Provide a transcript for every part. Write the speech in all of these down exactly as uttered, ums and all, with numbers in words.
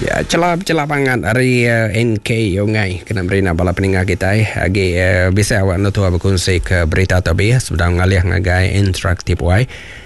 Ya, celap-celap banget hari uh, N K Yongai kena beri bala peninggal kita eh. Agi uh, bisa awak nu tua berkongsi ke berita tabi sedang ngalih ngagai interaktif wai.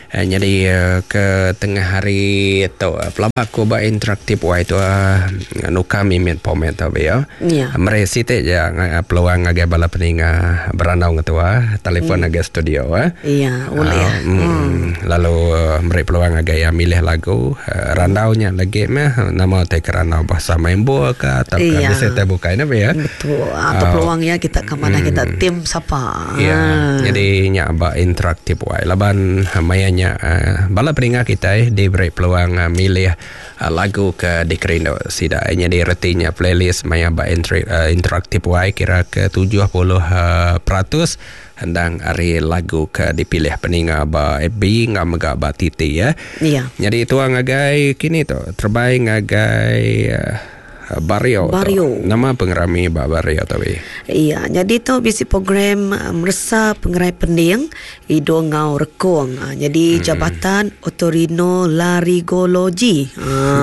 Uh, jadi uh, ke tengah hari tu uh, pelaba aku ba interaktif wai tu uh, nuka mimit pomet tabi ya. Ya. Mere siti je uh, peluang ngagai bala peninga berandau ngetua telefon hmm. ngagai studio eh. Iya, boleh. Uh, mm, hmm. Lalu uh, beri peluang ngagai yang milih lagu uh, randaunya lagi meh nama te kerana bahasa main buah ke atau ke Iya. bisa te buka ini ya. Betul. Atau peluangnya kita ke mana, kita tim siapa. Ya, jadi nya ba interaktif wai. Laban mayanya uh, bala peninga kita eh, diberi peluang uh, milih uh, lagu ke dikerindu sida. Jadi retinya playlist maya ba entry, uh, interaktif wai kira ke tujuh puluh uh, peratus hendang hari lagu ke dipilih peninga ba F B ngam mega ba T T ya. Iya. Jadi tuang ngagai kini tu terbaik ngagai uh, Bario. Bario. Tu. Nama pengerami ba Bario tu. Iya, jadi tu bisi program uh, meresa pengerai pending hidung ngau rekung. Uh, jadi hmm. Jabatan Otorinolaryngology.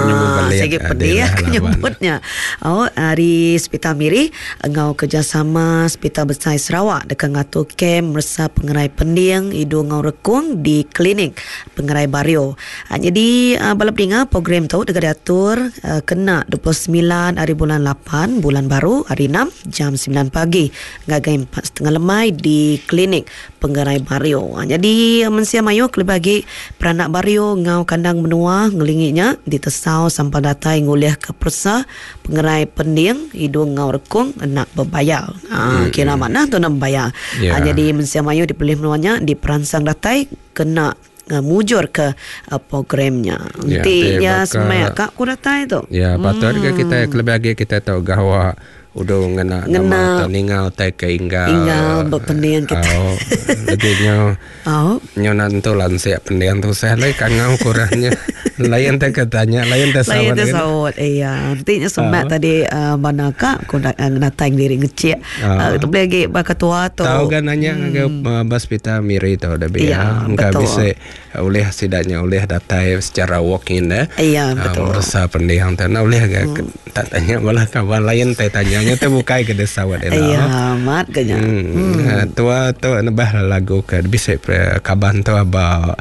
Nyebut Ah, balik, segi ah, pedih dia lah lawan. Nyebutnya. Oh, hari Hospital Miri ngau kerjasama Hospital Besar Sarawak dekat ngatur kem meresa pengerai pending hidung ngau rekung di klinik Pengerai Bario. Uh, jadi uh, bala peninga, program tu dekat diatur uh, kena dua puluh sembilan hari bulan lapan bulan baru hari enam jam sembilan pagi ngagai empat tiga puluh lemai di klinik Pengerai Bario. Ha, jadi mensia mayu kelebih bagi peranak Bario ngau kandang menua ngelinginya ditesau sampai datai ngulih ke persa pengerai pending hidung ngau rekung nak berbayar. Ha, hmm. Kira mana tu nak berbayar. Ya. Ha, jadi mensia mayu dipilih menuanya diperansang datai kena uh, mujur ke uh, programnya. Ya, Nanti ti ya baka- semaya kak ku datai tu. Ya, patut hmm. kita kelebih lagi kita tahu gawa udah ngena Ngena. nama atau ningal tai ke inggal. Inggal berpendian kita. Oh, lagi nyo Oh. nyo nantu lansia pendian tu saya lagi kangau kurangnya. Lain teh katanya, lain teh Lain sawat. tu sawat. Iya, nanti nya semak Ah. tadi uh, mana kak ku nak uh, datang diri ngecek. Ah. Uh, tu boleh lagi baka tua tu. Tahu kan nanya hmm. ke uh, bas pita miri tu dah Iya, ya. Engkau betul. bisa oleh sidaknya oleh datai secara walk in eh. Iya, Ah, betul. merasa pendiang tu nah oleh hmm. tak tanya malah kawan lain teh tanyanya tu bukai ke desa sawat. Iya, mat kenya. Hmm. hmm. Tua tu nebah lagu ke bisa pre- kaban tu aba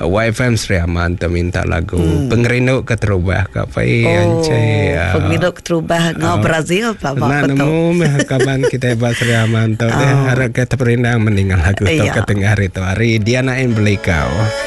Y F M Sri Aman tu minta lagu hmm. Pengerindu Keterubah ka pai Oh, ancai. Pengerindu Keterubah ngau Brazil pak Nah, pak betul. nemu meh kaban kita ba Sri Aman tu. Oh. Harap kita perindang meninggal lagu tu Iya. ke tengah hari tu hari Diana M Belikau.